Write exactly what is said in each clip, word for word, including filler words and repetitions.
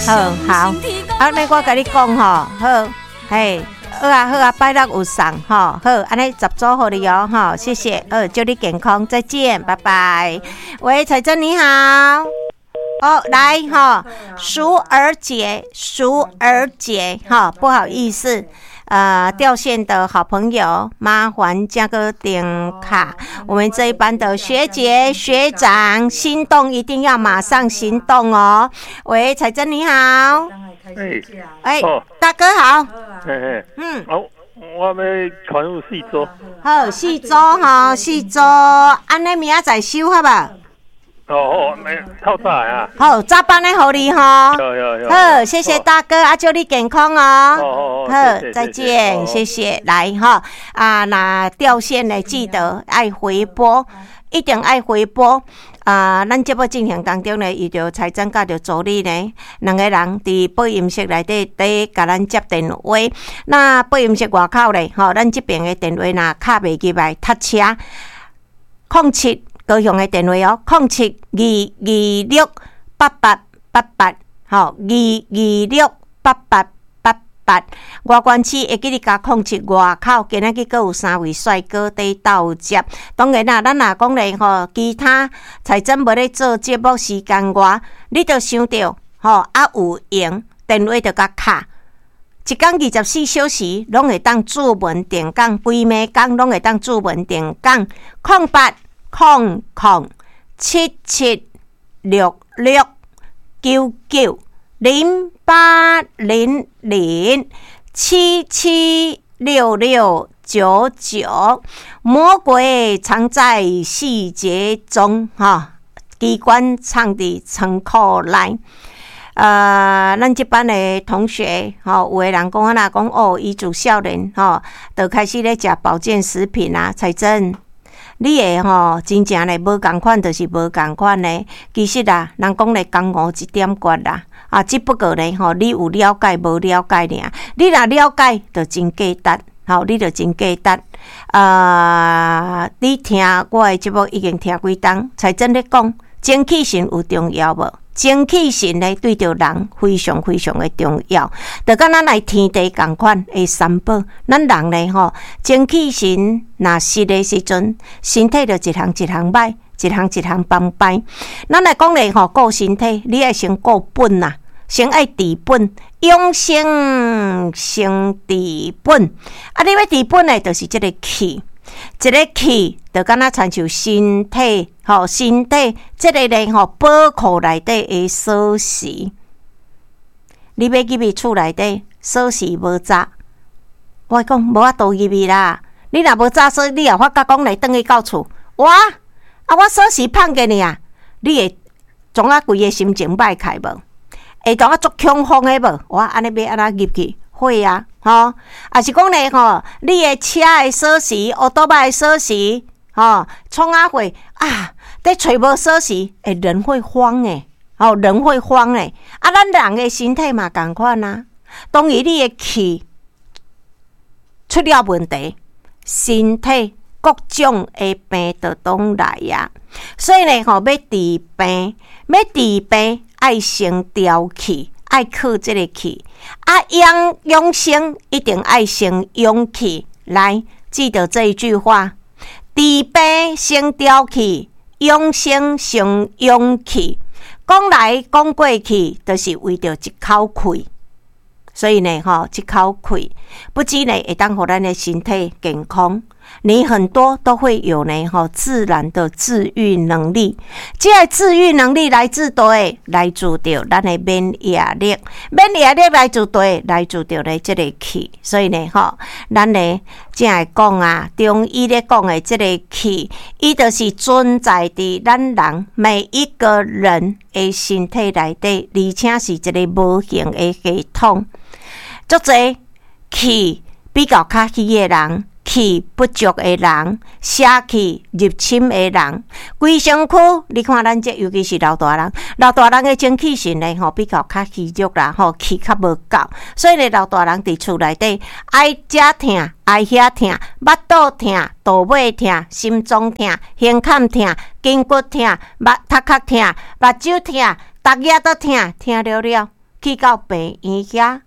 好好，按呢我共你講吼，好，嘿，好啊好啊，拜六有送吼，好，按呢十組予你哦，吼，謝謝，好，祝你健康，再見，拜拜。喂，彩珍你好，哦，來吼，淑兒姐，淑兒姐，哈，不好意思。呃，掉線的好朋友，麻煩加個點卡。我們這一班的學姐學長，心動一定要馬上行動哦。喂，彩珍你好。哎，哎，大哥好。嘿嘿，嗯，好，我欲傳入四組。好，四組吼，四組，按呢明仔載收好無？哦，好，透早啊。好，早班的予你吼。好，謝謝大哥，啊，祝你健康哦。好，再見，謝謝。來哈，啊，若掉線的記得愛回撥，一定愛回撥。啊，咱節目進行當中呢，伊著彩珍佮著助理呢，兩个人佇播音室內底佇共咱接電話。那播音室外口咧，吼，咱這邊的電話若敲袂入來，塞車，空七。高雄的電話哦，空七二二六八八八八，吼，二二六八八八八。外縣市會記得加空七外口，今仔日閣有三位帥哥佇鬥接。當然啦，咱若講咧吼，其他彩珍無咧做節目時間外，你著想著吼，啊有閒電話著共敲。一工二十四小時攏會當主文電講，規暝工攏會當主文電講，空八空空七七六六九九零八零零七七六六九九，魔鬼藏在細節中，哈！機關藏佇倉庫內。呃，咱這班的同學，吼，有的人講啊，若講哦，伊自少年吼，就開始咧食保健食品啊，彩珍。你會吼真正咧無仝款，就是無仝款咧。其實啊，人講咧江湖一點訣啦，啊，只不過咧吼，你有了解無了解爾。你若了解，就真價值，吼，你就真價值。啊，你聽我的節目已經聽幾冬，彩珍咧講，精氣神有重要無？精氣神咧對著人非常非常的重要，就佮咱來天地仝款的三寶。咱人咧吼，精氣神若失的時陣，身體就一項一項歹，一項一項崩敗。咱來講咧吼，顧身體，你愛先顧本啊，先愛治本，養生先治本。啊，你欲治本的，就是這个氣。這个氣就敢若親像身體，吼，身體這个咧吼，寶庫內底的鎖匙。你欲入去厝內底，鎖匙無閘，我講無法度入去啦。你若無閘鎖，你也發覺講來轉去到厝，哇！啊，我鎖匙放過爾，你會創啊規个心情歹起無？會當啊足恐慌的無？我按呢欲按怎入去？會啊，吼，抑是講咧吼，你的車的鎖匙、烏托邦的鎖匙，吼，創啊貨啊，佇揣無鎖匙，欸，人會慌欸，吼，人會慌欸。啊，咱人的身體嘛仝款啊，當伊你的氣出了問題，身體各種的病就攏來啊。所以呢，吼，欲治病，欲治病，愛先調氣。愛靠這个氣，啊養養生一定愛先養氣。來，記得這一句話：治病先調氣，養生先養氣。講來講過去，就是為著一口氣。所以呢，吼，這口氣不止呢，會當予咱的身體健康。你很多都會有呢，吼，自然的治癒能力。這个治癒能力來自佗，來自著咱的免疫力，免疫力來自佗，來自著咧這个氣。所以呢，吼，咱呢才會講啊，中醫咧講的這个氣，伊就是存在佇咱人每一個人的身體內底，而且是一个無形的系統。足濟氣比較較虛的人，氣不足的人，邪氣入侵的人，規身軀，你看咱這尤其是老大人，老大人的精氣神呢，吼比較較虛弱啦，吼氣較無夠，所以呢，老大人佇厝內底愛這疼，愛遐疼，腹肚疼，肚尾疼，心臟疼，胸坎疼，筋骨疼，目頭殼疼，目睭疼，逐日都疼，疼了了，去到病院遐，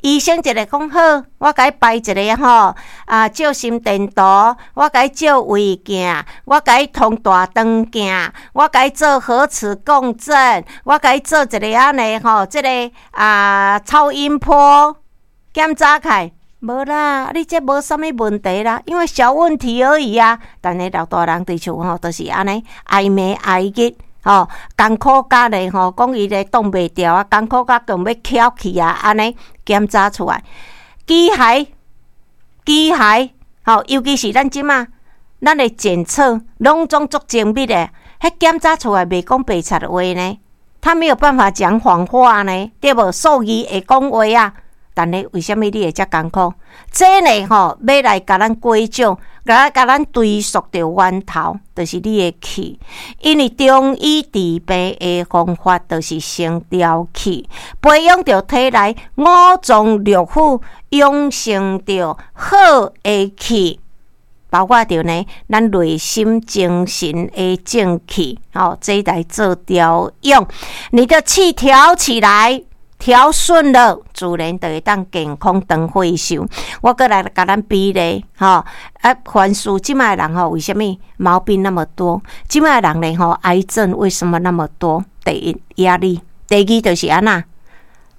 醫生一个講好，我共你排一个吼，啊照心電圖，我共你照胃鏡，我共你通大腸鏡，我共你做核磁共振，我共你做一个按呢吼，這個啊超音波檢查起來，無啦，你這無啥物問題啦，因為小問題而已啊。但是老大人佇厝吼，就是按呢哀暝哀日。吼，艱苦甲咧吼，講伊咧擋袂牢啊，艱苦甲強欲翹去啊，按呢檢查出來，機械機械，吼，尤其是咱這馬，咱的檢測攏總足精密的，彼檢查出來袂講白賊話呢，他沒有辦法講謊話呢，對無？數字會講話啊，但是為啥物你會遮艱苦？這呢吼，欲來共咱歸咎，來共咱追溯著源頭，就是你的氣。因為中醫治病的方法，就是先調氣，培養著體內五臟六腑，養成著好的氣，包括著呢，咱內心精神的正氣，吼，這來做調養。你的氣調起來，調順了，自然就會當健康長歲壽。我閣來共咱比例，吼啊，凡事這擺的人吼，為啥物毛病那麼多？這擺的人呢，吼，癌症為什麼那麼多？第一壓力，第二就是按怎？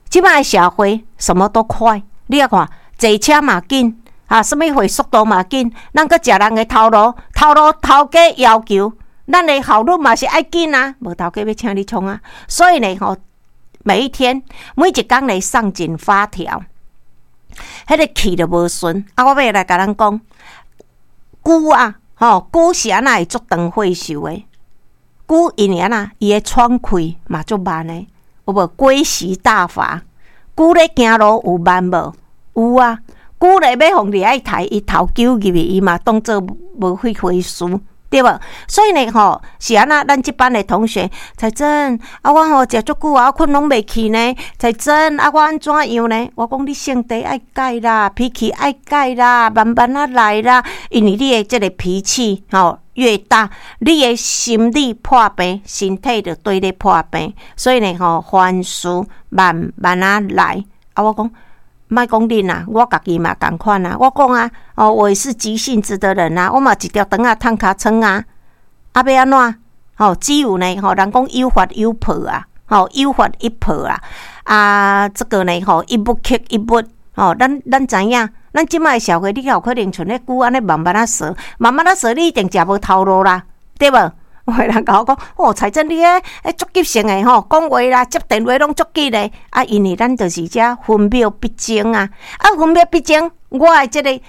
這擺的社會什麼都快，你仔看，坐車嘛緊，啊，啥物貨速度嘛緊，咱閣食人的頭路，頭路頭家要求，咱的效率嘛是愛緊啊，無頭家欲請你創啊，所以呢，吼。每一天，每一工來上緊發條，彼個氣就無順。啊，我欲來共咱講，龜啊，吼，龜是按怎會足長歲壽的？龜因為按怎，伊的喘氣嘛足慢的，有無？龜息大法，龜咧行路有慢無？有啊。龜咧欲予掠去刣，伊頭揪入去，伊嘛當做無彼回事。對無？所以呢，吼是按怎？咱這班的同學，彩珍啊，我吼食足久啊，我睏攏袂去呢。彩珍啊，我按怎樣呢？我講你性地愛改啦，脾氣愛改啦，慢慢仔來啦。因為你的這個脾氣吼越大，你的心理破病，身體就綴咧破病。所以呢，吼凡事慢慢仔來。啊，我講。莫講恁啦，我家己嘛仝款啊。我講啊，哦，我也是急性子的人啊，我嘛一條腸仔褪尻川啊。啊，欲按怎？吼，只有呢，吼，人講有法有破啊，吼，有法一破啊。啊，這個呢，吼，一物克一物，吼，咱咱知影，咱這擺社會，你有可能像彼龜按呢慢慢仔踅，慢慢仔踅，你一定食無頭路啦，對無？有人共我講，哦，彩珍你彼彼足急性的吼，講話啦，接電話攏足急的。啊，因為咱就是遮分秒必爭啊，啊，分秒必爭，我的這個的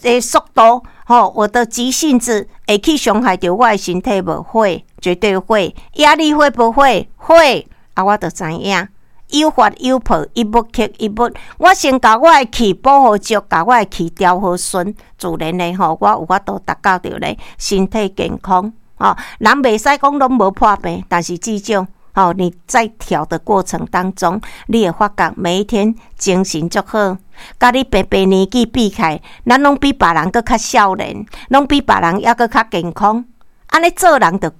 的速度，吼，我的急性子會去傷害著我的身體無？會，絕對會。壓力會不會？會。啊，我就知影，有法有破，一物克一物。我先共我的氣補好足，共我的氣調好順，自然的吼，我有法度達到著咧身體健康。吼，人袂使講攏無破病，但是至少，吼，你在調的過程當中，你會發覺每一天精神足好，佮你平平年紀比起來，咱攏比別人閣較少年，攏比別人猶閣較健康。按呢做人就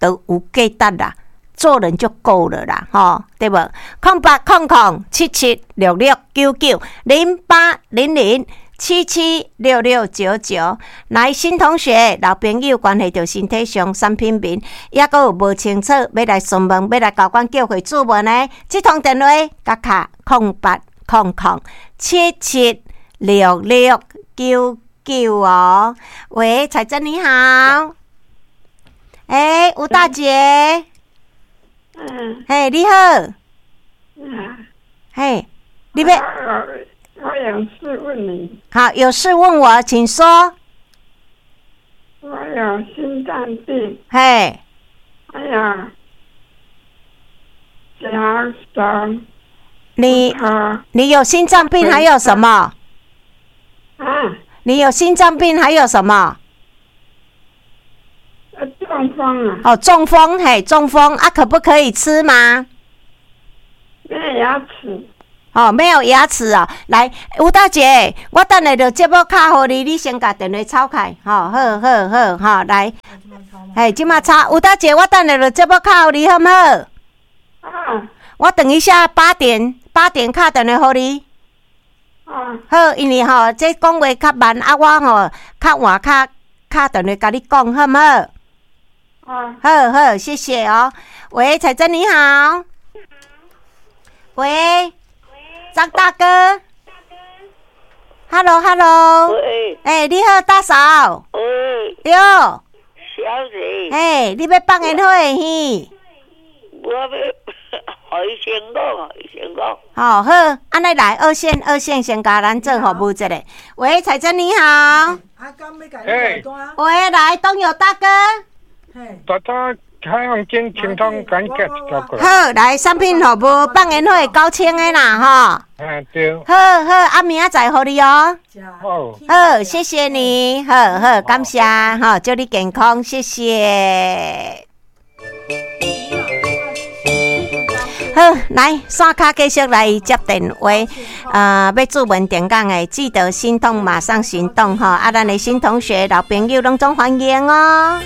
就有價值啦，做人就夠了啦，吼，對無？空八空空七七六六九九零八零零。七七六六九九，來新同學、老朋友，關係著身體上產品面，猶閣有無清楚，欲來詢問，欲來交阮叫會主問的，這通電話，佮敲空八空空七七六六九九哦。喂，彩珍你好，欸，吳大姐，嗯，嘿，你好，嗯，嘿，你欲。我有事問你。好，有事問我，請說。我有心臟病。嘿。還有腳手。你你有心臟病，還有什麼？啊？你有心臟病，還有什麼？中風啊。哦，中風，嘿，中風啊，可不可以吃嗎？沒有牙齒。哦，沒有牙齒啊！來，吳大姐，我等下就節目敲予你，你先共電話抄開，吼，好好好，吼，來，嘿，這馬抄，吳大姐，我等下就節目敲予你，好毋好？啊。我等一下八點八點敲電話予你。啊。好，因為吼，這講話較慢，啊，我吼較晚較敲電話共你講，好毋好？啊。好好，謝謝哦。喂，彩珍你好。喂，張大哥。Hello，Hello。喂。欸，你好，大嫂。喂。對。小姐。欸，你欲放煙火耳？我欲予醫生講，醫生講。好，好，按呢來二線，二線先共咱做服務一下。喂，彩珍你好。欸。喂，來，東友大哥。大家海洋間清通趕緊一條過來。好，來，產品服務放煙火九千的啦，吼。嗯，對。好好，啊，明仔載予你哦。好。好，謝謝你，好好，感謝，吼，祝你健康，謝謝。好，來，線跤繼續來接電話，呃，欲注文點講的，記得心痛馬上行動，吼，啊，咱的新同學、老朋友攏總歡迎哦。